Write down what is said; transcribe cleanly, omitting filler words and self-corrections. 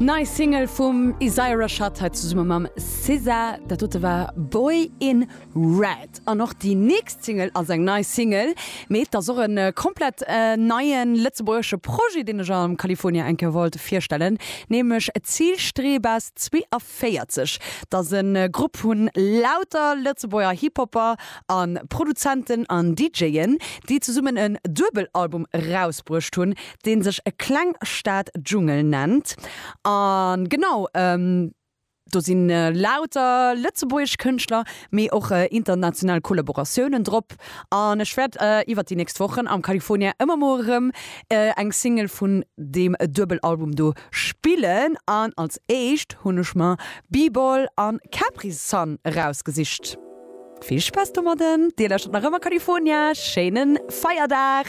Nei Single vum Isaiah Rashad hei zesumme mam SZA. Dat dote war Boy in Red. An och déi nächst Single ass eng nei Single, mee et ass och e komplett neie lëtzebuergesche Projet, deen ech am California eng Kéier wollt virstellen, nämlech Zielstrebas 42. Dat ass e Grupp vu lauter Lëtzebuerger Hip-Hopper a Produzenten an DJen, déi zesummen en Duebelalbum erausbruecht hunn, deen sech Klengstad Dschungel nennt. A genau, do si lauter lëtzebuergesch Kënschtler, mee och international Kollaboratiounen drop. An ech wäert iwwert déi nächst Wochen am California ëmmer mol erëm eng Single vun deem Duebelalbum do spillen. An als éischt hunn ech mer B-Ball an Capri Sun erausgesicht. Vill Spaass domadden! Dir lauschtert nach ëmmer California. Schéine Feierdag!